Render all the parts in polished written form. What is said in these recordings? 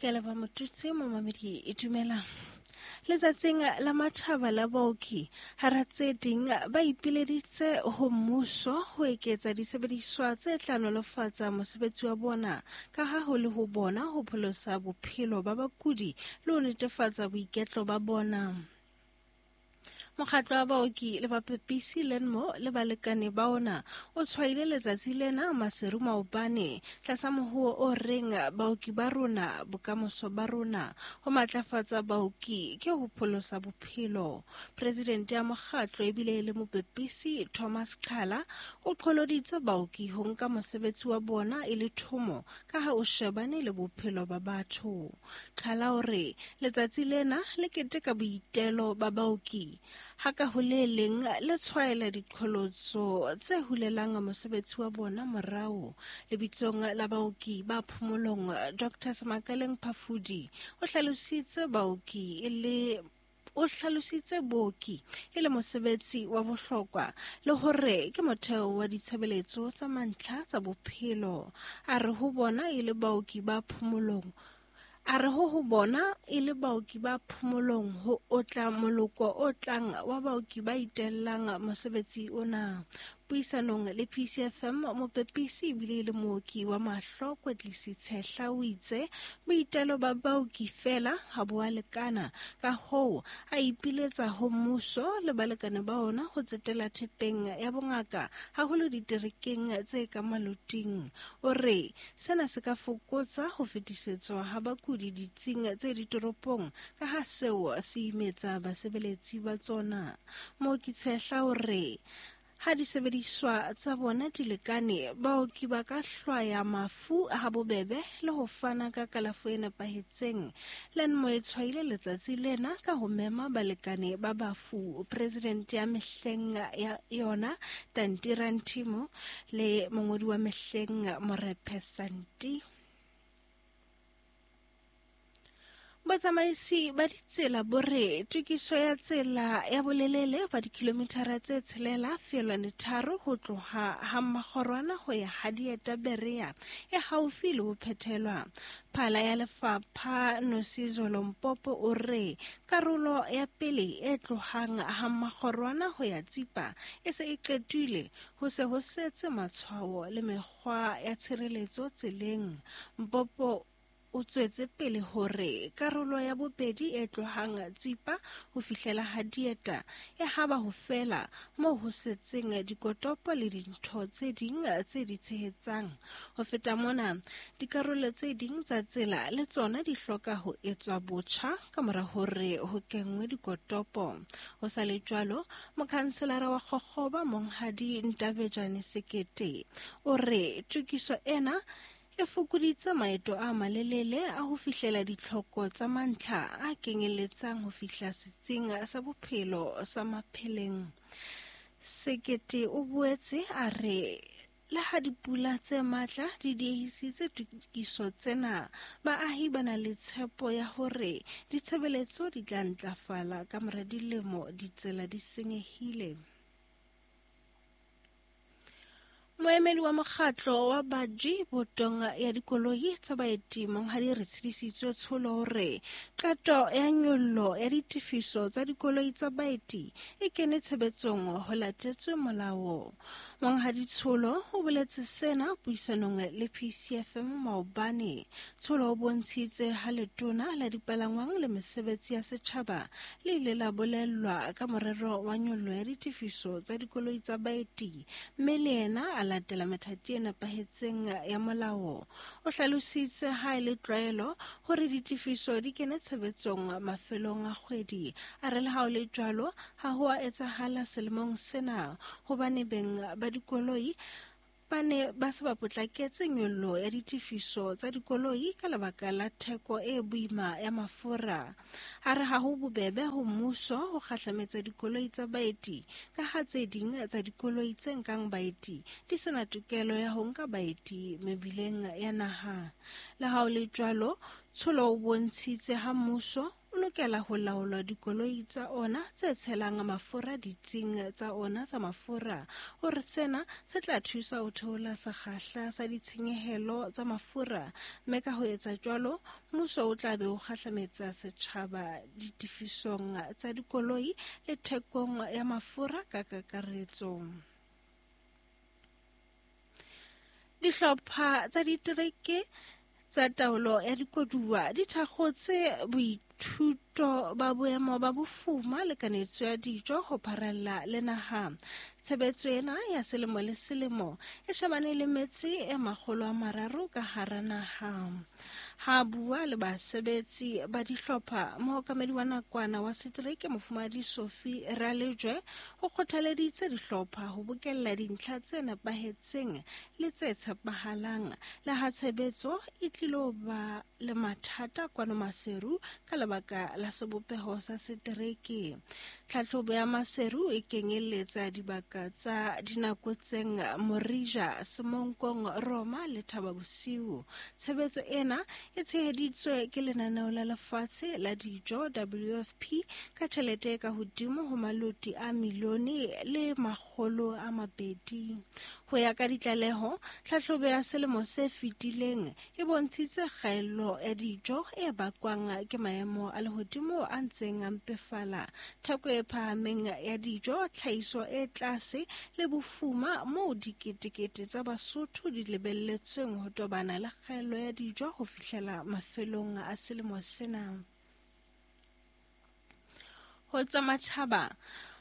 Ke leboha Motutsi momamedi e dumelang. Letsatsing la matjhaba la baoki, hara tse ding ba ipileditse ho mmuso ho eketsa disebediswa tse tla nolofatsa mosebetsi wa bona ka ha ho le ho bona ho pholosa bophelo ba bakudi le ho netefatsa boiketlo ba bona. Mokgatlo wa baoki le bapepisi Lenmo le balekane ba ona o tshwaile letsatsi lena Maseru maobane tlasa mohuo o reng baoki ba rona bokamoso ba rona. Ho matlafatsa baoki ke ho pholosa bophelo. Presidente ya mokgatlo ebile e le mopepisi Thomas Qhala o qholoditse baoki ho nka mosebetsi wa bona e le thomo ka ha o shebane le bophelo ba batho. Qhala o re letsatsi lena le keteka boitelo ba baoki ha ka ho le leng le tshwaela diqholotso tse hulelang mosebetsi wa bona morao. Lebitsong la baoki ba phomolong, Dr. Semakaleng Phafudi o hlalositse baoki e le o hlalositse booki e le mosebetsi wa bohlokwa le hore ke motheo wa ditshebeletso tsa mantlha tsa bophelo. A re ho bona e le baoki ba phomolong a re ho ho bona e le baoki ba phomolong ho otla moloko o tlang wa baoki ba itellang mosebetsi ona. Puisanong le PCFM, mopepisi ebile e le mooki wa mahlo Kwetlisi Tshehla o itse boitelo ba baoki feela ha bo a lekana, ka hoo a ipiletsa ho mmuso le balekane ba ona ho tsetela thepeng ya bongaka haholo diterekeng tse ka maloting. O re sena se ka fokotsa ho fetisetswa ha bakudi ditsing tse ditoropong ka ha seo se imetsa basebeletsi ba tsona. Mooki Tshehla o re ha disebediswa tsa bona di lekane, baoki ba ka hlwaya mafu habobebe le ho fana ka kalafo e nepahetseng. Lenmo e tshwaile letsatsi lena ka ho mema balekane ba bafu, presidente ya mehleng ya yona Tanti Rantimo le mongodi wa mehleng Morephe Santi. Botsamaisi ba ditsela bo re tokiso ya tsela ya bolelele ba dikilomithara tse 6.3 ho tloha ha Mmakgorwana ho ya ha Dieta Berea e haufi le ho phethelwa. Phala ya lefapha Nosizo Lompopo o re karolo ya pele e tlohang ha Mmakgorwana ho ya Tsipa e se e qetile, ho se ho setse matshwao le mekgwa ya tshireletso tseleng. Mpopo o tswetse pele hore karolo ya bobedi e tlohang Tsipa ho fihlela ha Dieta e haba ho fela moo ho setseng dikotopo le dintho tse ding tse di tshehetsang. Ho feta mona, dikarolo tse ding tsa tsela le tsona di hloka ho etswa botjha ka mora hore ho kenngwe dikotopo. Ho sa le jwalo, mokhanselara wa Kgokgoba Monghadi Ntabejane Sekete o re tokiso ena e fokoditse maeto a malelele a ho fihlela ditlhoko tsa mantlha a kenyeletsang ho fihla setsing sa bophelo sa Mapheleng. Sekete o boetse a re le ha dipula tse matla di diehisitse tokiso tsena, baahi ba na le tshepo ya hore ditshebeletso di tla ntlafala ka mora dilemo ditsela di senyehile. Moemedi wa mokgatlo wa baji botong ya dikoloi tsa baeti Monghadi Retshedisitswe Tsholo hore qeto ya nyollo ya ditefiso tsa dikoloi tsa baeti e kene tshebetsong ho latetswe molao. Monghadi Tsholo o boletse sena puisanong le PCFM maobane. Tsholo o bontshitse ha letona la dipalangwang le mesebetsi ya setjhaba le ile la bolellwa ka morero wa nyollo ya ditefiso tsa dikoloi tsa baeti mme le yena a latela methati e nepahetseng ya molao. O hlalositse ha e le tlwaelo hore ditefiso di kene tshebetsong mafelong a kgwedi. A re le ha o le jwalo, ha ho a etsahala selemong sena hobane beng ba dikoloi ba ne ba se ba potlaketse nyollo ya ditefiso tsa dikoloi ka lebaka la theko e boima ya mafura. A re ha ho bobebe ho mmuso ho kgahlametsa dikoloi tsa baeti ka ha tse ding tsa dikoloi tse nkang baeti di sena tokelo ya ho nka baeti mebileng ya naha. Le ha ho le jwalo, Tsholo o bontshitse ha mmuso o lokela lokela ho laola dikoloi tsa ona tse tshelang mafura ditsing tsa ona tsa mafura. O re sena se tla thusa ho theola sekgahla sa ditshenyehelo tsa mafura, mme ka ho etsa jwalo mmuso o tla be o kgahlametsa setjhaba ditefisong tsa dikoloi le thekong ya mafura ka kakaretso. Dihlopha tsa ditereke tsa taolo ya dikoduwa di thakgotse boithuto ba boemo ba bofuma le kanetso ya dijo ho pharalla le naha. Tshebetso ena ya selemo le selemo e shebane le metse e 300 ka hara naha. Ha bua le basebetsi ba dihlopha, mookamedi wa nakwana wa setereke Mofumahadi Sophie Ralejwe o kgothaleditse dihlopha ho bokella dintlha tse nepahetseng le tse tshepahalang, le ha tshebetso e tlilo ba le mathata kwano Maseru ka lebaka la sebopeho sa setereke. Tlhahlobo ya Maseru e kenyeletsa dibaka tsa Dinakotseng, Morija, Semonkong, Roma le Thaba Bosiu. Tshebetso ena e tsheheditswe ke lenaneo la lefatshe la dijo WFP ka tjhelete e ka hodimo ho maloti a milione le 200. Ho ya ka ditlaleho, tlhahlobo ya selemo se fetileng e bontshitse kgaello ya dijo e bakwang ke maemo a lehodimo a ntseng a mpefala, theko e phahameng ya dijo, tlhahiso e tlase le bofuma moo diketekete tsa Basotho di lebelletsweng ho tobana le kgaello ya dijo ho fihlela mafelong a selemo sena. Ho tsa matjhaba,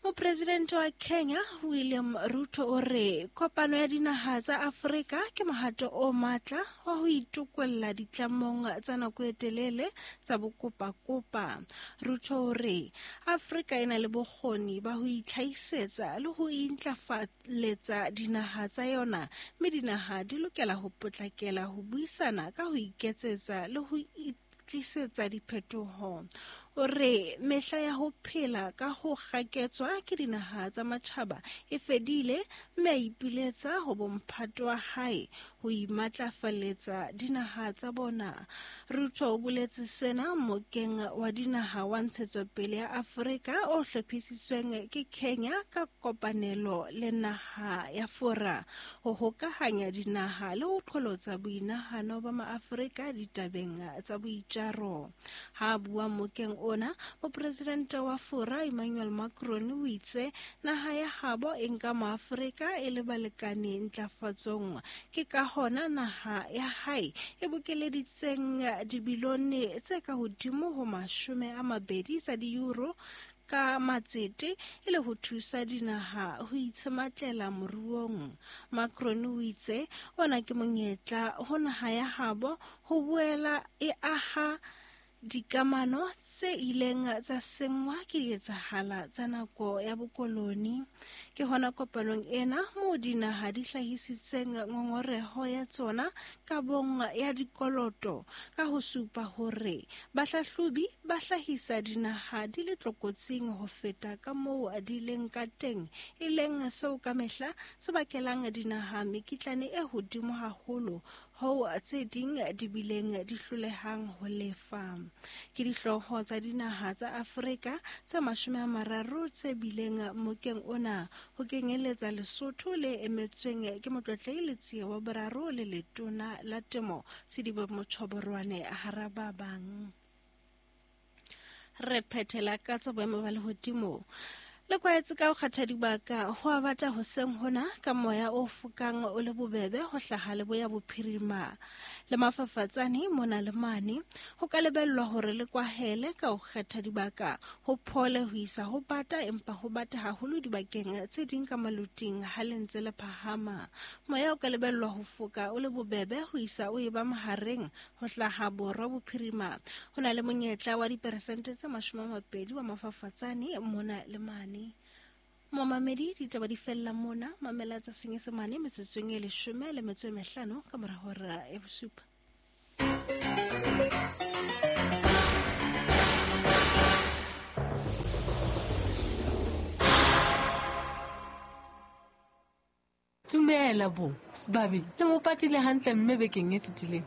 Mopresidente wa Kenya William Ruto o re kopano ya dinaha tsa Afrika ke mohato o matla wa ho itokolla ditlamong tsa nako e telele tsa bokopakopa. Ruto o re Afrika e na le bokgoni ba ho itlhahisetsa le ho intlafaletsa dinaha tsa yona, mme dinaha di lokela ho potlakela ho buisana ka ho iketsetsa le ho tlisetsa diphetoho. O re mehla ya ho phela ka ho kgaketswa ke dinaha tsa matjhaba e fedile, mme a ipiletsa ho bomphato wa hae ho imatlafaletsa dinaha tsa bona. Ruto o boletse sena mokeng wa dinaha wa ntshetsopele ya Afrika o hlophisitsweng ke Kenya ka kopanelo le naha ya Fora ho hokahanya dinaha le ho qholotsa boinahano ba maAfrika ditabeng tsa boitjaro. Ha bua mokeng ona, mopresidente wa Fora Emmanuel Macron o itse naha ya habo e nka maAfrika e le balekane ntlafatsong. Ke ka hona naha ya hae e bokeleditseng dibilione tse ka hodimo ho 20 tsa di-euro ka matsete e le ho thusa dinaha ho itshematlela moruong. Macron o itse ona ke monyetla ho naha ya habo ho boela e aha dikamano tse ileng tsa senngwa ke dietsahala tsa nako ya bokoloni. Ke hona kopanong ena moo dinaha di hlahisitseng ngongoreho ya tsona kabong ya dikoloto ka ho supa hore bahlahlobi ba hlahisa dinaha di le tlokotsing ho feta ka moo di leng ka teng, e leng seo ka mehla se bakelang dinaha mekitlane e hodimo haholo hoo tse ding di bileng di hlolehang ho lefa. Ke dihlooho tsa dinaha tsa Afrika tse 30 tse bileng mokeng ona, ho kenyeletsa Lesotho le emetsweng ke Motlotlehi Letsie wa Boraro le Letona la Temo Sedibe Motjhoborwane hara ba bang. Re phethela ka tsa boemo ba lehodimo. Le kwaetse ka ho kgetha dibaka ho a bata hoseng hona ka moya o fokang o le bobebe ho hlaha leboya bophirima le mafafatsane mona le mane. Ho ka lebellwa hore le kwahele ka ho kgetha dibaka ho phole ho isa ho bata, empa ho bata haholo dibakeng tse ding ka maloting ha le ntse le phahama. Moya o ka lebellwa ho foka o le bobebe ho isa o eba mahareng ho hlaha borwa bophirima. Ho na le monyetla wa diperesente tse 20 wa mafafatsane mona le mane. Momamedi, ditaba di fella mona. Mamela tsa Senyesemane metsotsong e 15 ka mora hora ya 7. Dumela bo, Sebabi, le mo patile hantle mme bekeng e fetileng.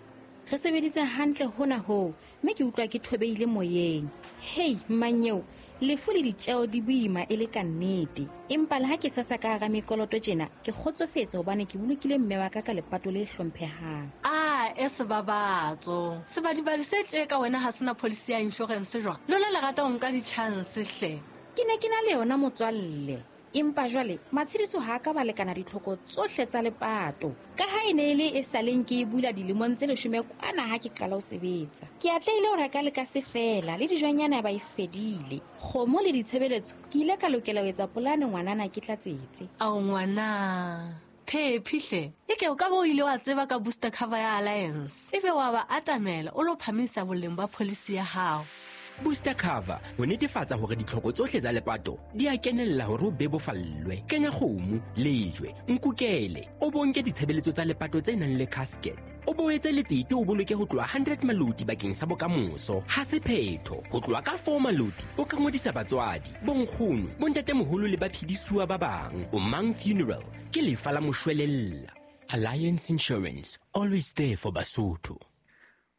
Re sebeditse hantle hona hoo, mme ke utlwa ke thobehile moyeng. Hei, mmanyeo, lefu le ditjeo di boima e le ka nnete. Empa le ha ke sasa ka hara mekoloto tjena, ke kgotsofetse hobane ke bolokile mme wa ka ka lepato le hlomphehang. A e sebabatso. Sebadibadi se tje ka wena ha sena policy ya insurance jwang? Lona le rata ho nka di-chance hle. Ke ne ke na le yona motswalle. Empa jwale matshediso ha a ka ba lekana ditlhoko tsohle tsa lepato. Ka ha e ne e le e sa leng ke e bula dilemong tse 10 kwana ha ke qala ho sebetsa. Ke atlehile ho reka le ka se fela le dijonyana ba e fedile. Kgomo le ditshebeletso ke ile ka lokela ho etsa polane ngwanana ke tlatsetse. Ao ngwana. Phephi hle. Eke o ka bo o ile wa tseba ka booster cover ya Alliance. Ebe wa ba atamela o lo phamisa boleng ba policy ya hao. Booster cover ho netefatsa hore ditlhoko tsohle tsa lepato di a kenella hore o bebofallwe. Kenya kgomo, lejwe, nkukele, o bonke ditshebeletso tsa lepato tse nang le casket. O boetse letsete o boloke ho tloha 100 maloti bakeng sa bokamoso. Ha se phetho, ho tloha ka 4 maloti o ka ngodisa batswadi, bonkgono, bontatemoholo le baphedisuwa ba bang. O Mang Funeral ke lefa la moshwelella. Alliance Insurance, always there for Basotho.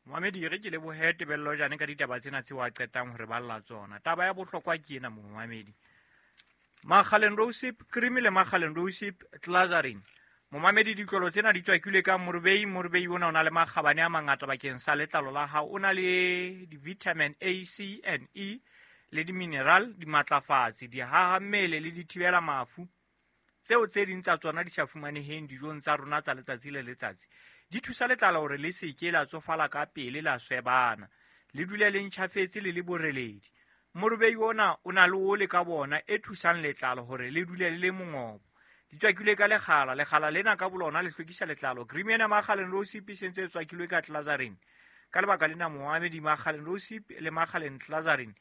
Momamedi, re ke lebohe Tebello Jane ka ditaba tsena tseo a qetang hore ba lla tsona. Taba ya bohlokwa ke ena momamedi. Makgaleng Rosip cream le Makgaleng Rosip Glycerin. Momamedi, ditlolo tsena di tswakilwe ka morobei. Morobei ona o na le makgabane a mangata bakeng sa letlalo la hao. O na le di-vitamin A, C and E le di-mineral, dimatlafatsi, dihaha mmele le dithibela mafu. Tseo tse ding tsa tsona di sa fumaneheng dijong tsa rona tsa letsatsi le letsatsi. Di thusa letlalo hore le se ke la tsofala ka pele la swebana, le dule le ntjhafetse le le boreledi. Morobei ona o na le ole ka bona e thusang letlalo hore le dule le le mongobo. Di tswakilwe ka lekgala, lekgala lena ka bolona le hlwekisa letlalo. Cream ena Makgaleng Rosip e sentse e tswakilwe ka Glycerin. Ka lebaka lena momamedi, Makgaleng Rosip le Makgaleng Glycerin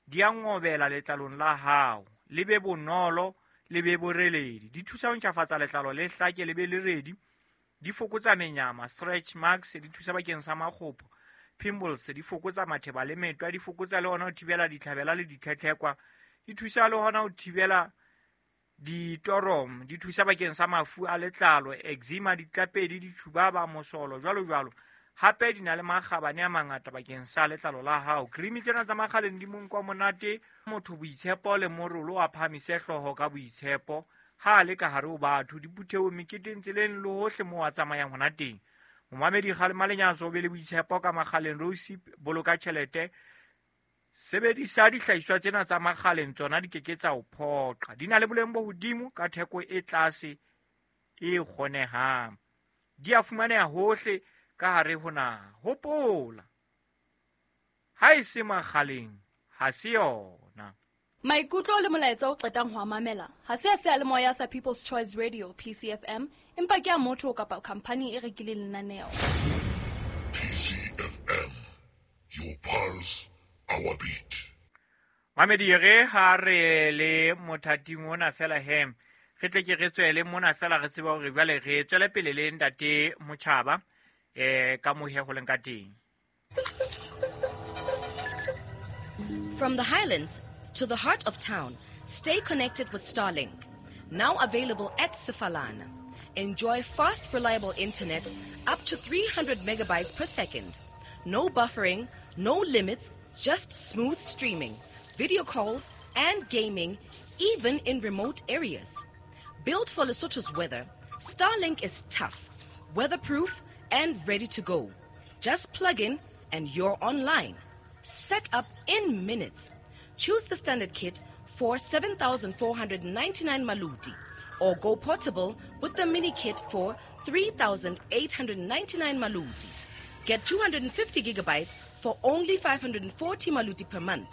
di a ngobela letlalong la hao, le be bonolo, le be boreledi. Di thusa ho ntjhafatsa letlalo le hlake le be le redi. Di fokotsa menyama, stretch marks, di thusa bakeng sa makgopo, pimples, di fokotsa matheba le metwa, di fokotsa le hona ho thibela ditlhabela le ditlhetlhekwa, di thusa le hona ho thibela ditorom, di thusa bakeng sa mafu a letlalo, eczema, ditlapedi, ditjhubaba, mosolo, jwalo jwalo. Hape di na le makgabane a mangata bakeng sa letlalo la hao. Cream tsena tsa Makgaleng di monko monate, motho boitshepo le morolo a phamise hlooho ka boitshepo. Ha le ka hare ho batho, diphuthehong, meketeng, tseleng le hohle moo a tsamayang hona teng. Momamedi, kgalema lenyatso, o be le boitshepo ka Makgaleng Rosip, boloka tjhelete. Sebedisa dihlahiswa tsena tsa Makgaleng, tsona di keke tsa o phoqa. Di na le boleng bo hodimo ka theko e tlase e kgonehang. Di a fumaneha hohle ka hare ho naha. Hopola, ha e se Makgaleng, ha se yona. Maikutlo le molaetsa o qetang ho a mamela ha se a seyalemoya sa People's Choice Radio PCFM, empa ke a motho kapa khampani e rekileng lenaneo. PCFM, your pulse, our beat. Mamedi, re ha re le mothating ona fela he, re tle ke re tswele mona fela re tseba hore jwale re tswele pele le ntate Motjhaba ka mohe ho leng ka teng. From the Highlands to the heart of town, stay connected with Starlink. Now available at Sefalana. Enjoy fast, reliable internet up to 300 megabytes per second. No buffering, no limits, just smooth streaming, video calls, and gaming, even in remote areas. Built for Lesotho's weather, Starlink is tough, weatherproof, and ready to go. Just plug in and you're online. Set up in minutes. Choose the standard kit for 7,499 maluti or go portable with the mini kit for 3,899 maluti. Get 250 gigabytes for only 540 maluti per month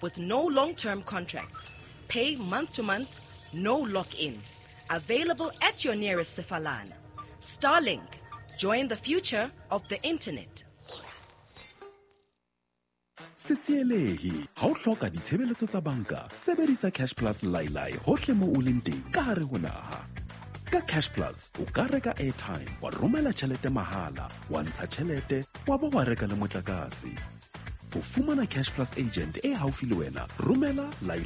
with no long-term contracts. Pay month to month, no lock-in. Available at your nearest Sefalana. Starlink, join the future of the internet. Se tsielehe ha o hloka ditshebeletso tsa banka, sebedisa Cash Plus Lailai hohle moo o leng teng ka hare ho naha. Ka Cash Plus o ka reka airtime, wa romela tjhelete mahala, wa ntsha tjhelete, wa ba wa reka le motlakase. Ho fumana Cash Plus agent e haufi le wena, romela Lailai.